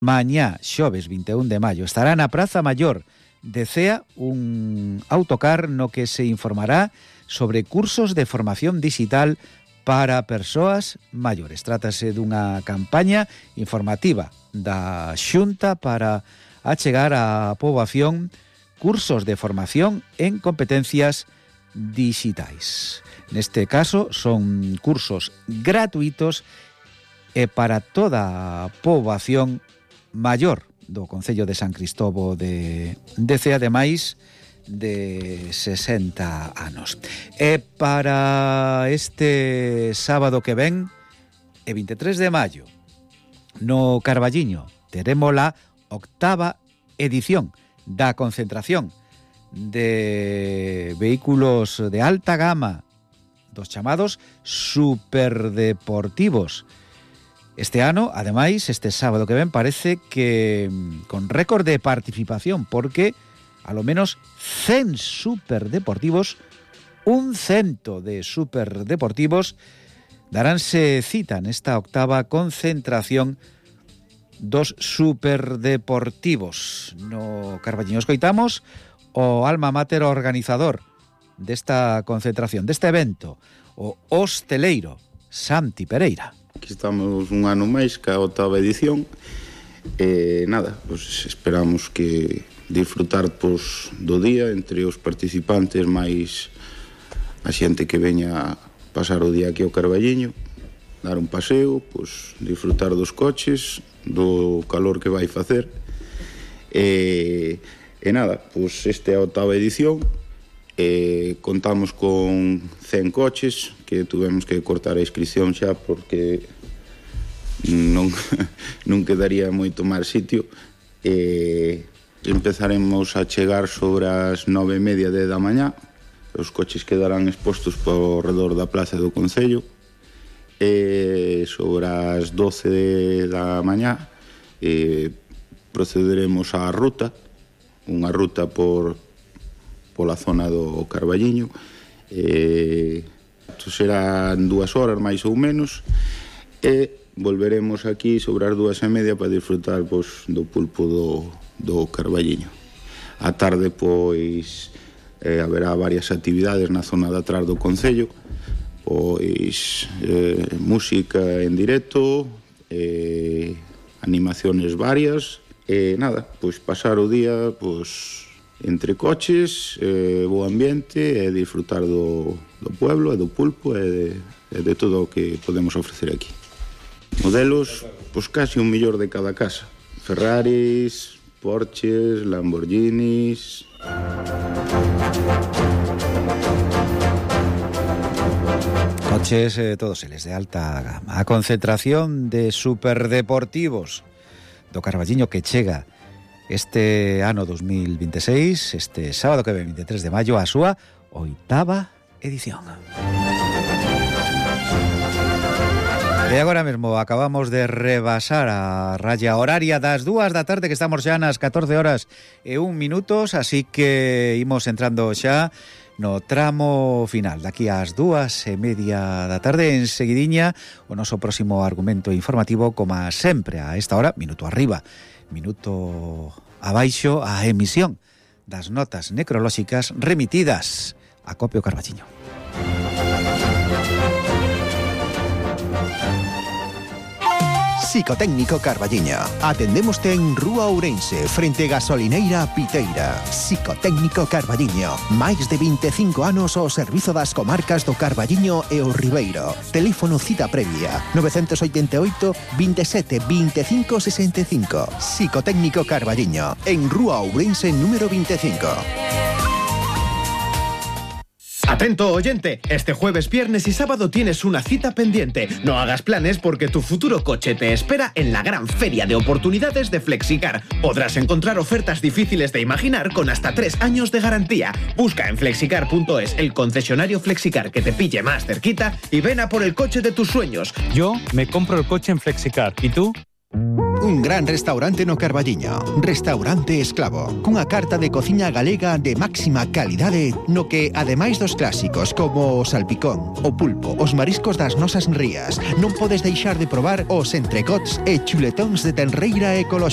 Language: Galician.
Mañá, xoves 21 de maio, estará na Praza Maior de Cea un autocar no que se informará sobre cursos de formación digital para persoas maiores. Trátase dunha campaña informativa da Xunta para achegar á poboación cursos de formación en competencias digitais. Neste caso son cursos gratuitos e para toda a poboación maior do Concello de San Cristovo de Cea, ademais de 60 anos. E para este sábado que ven, e 23 de maio, no Carballiño, teremos a 8ª edición da concentración de vehículos de alta gama, dos chamados superdeportivos. Este ano, ademais, este sábado que ven, parece que con récord de participación, porque a lo menos 100 superdeportivos, un cento de superdeportivos, daránse cita nesta 8ª concentración dos superdeportivos. No Carballiño escoitamos o alma mater organizador desta concentración, deste evento, o hosteleiro Santi Pereira. Aquí estamos un ano máis que a 8ª edición e nada, pues esperamos que disfrutar do día entre os participantes máis a xente que veña a pasar o día aquí ao Carballiño, dar un paseo, pues disfrutar dos coches, do calor que vai facer e nada, pues esta é a 8ª edición. Contamos con 100 coches que tuvemos que cortar a inscripción xa porque non quedaría moito máis sitio. Empezaremos a chegar sobre as 9:30 da mañá. Os coches quedarán expostos por redor da plaza do Concello e sobre as 12 da mañá procederemos á ruta, unha ruta pola zona do Carballiño. Isto serán 2 horas máis ou menos e volveremos aquí sobre as 2:30 para disfrutar do pulpo do Carballiño. A tarde pois haberá varias actividades na zona de atrás do Concello, pois música en directo, animaciones varias e nada, pois pasar o día pois entre coches, bo ambiente e disfrutar do pueblo e do pulpo e de todo o que podemos ofrecer aquí. Modelos, pois casi 1 millón de cada casa. Ferraris, Porsches, Lamborghinis. Coches, todos eles de alta gama. A concentración de superdeportivos do Carballiño que chega este ano 2026, este sábado que ven 23 de maio, a súa 8ª edición. E agora mesmo acabamos de rebasar a raya horaria das 2 da tarde, que estamos xa nas 14 horas e 1 minutos, así que imos entrando xa no tramo final. Daqui ás 2:30 da tarde, en seguidiña, o noso próximo argumento informativo, como sempre a esta hora, minuto arriba, minuto abaixo, a emisión das notas necrolóxicas remitidas a Copio Carballiño. Psicotécnico Carballiño. Atendémoste en Rúa Ourense, frente Gasolineira Piteira. Psicotécnico Carballiño. Máis de 25 anos ao servizo das comarcas do Carballiño e o Ribeiro. Teléfono cita previa 988 27 25 65. Psicotécnico Carballiño, en Rúa Ourense número 25. Atento, oyente, este jueves, viernes y sábado tienes una cita pendiente. No hagas planes porque tu futuro coche te espera en la gran feria de oportunidades de Flexicar. Podrás encontrar ofertas difíciles de imaginar con hasta 3 años de garantía. Busca en flexicar.es el concesionario Flexicar que te pille más cerquita y ven a por el coche de tus sueños. Yo me compro el coche en Flexicar. ¿Y tú? Un gran restaurante no Carballiño, Restaurante Esclavo, cunha carta de cociña galega de máxima calidade, no que, ademais dos clásicos como o salpicón, o pulpo, os mariscos das nosas rías, non podes deixar de probar os entrecots e chuletóns de tenreira ecolóxica.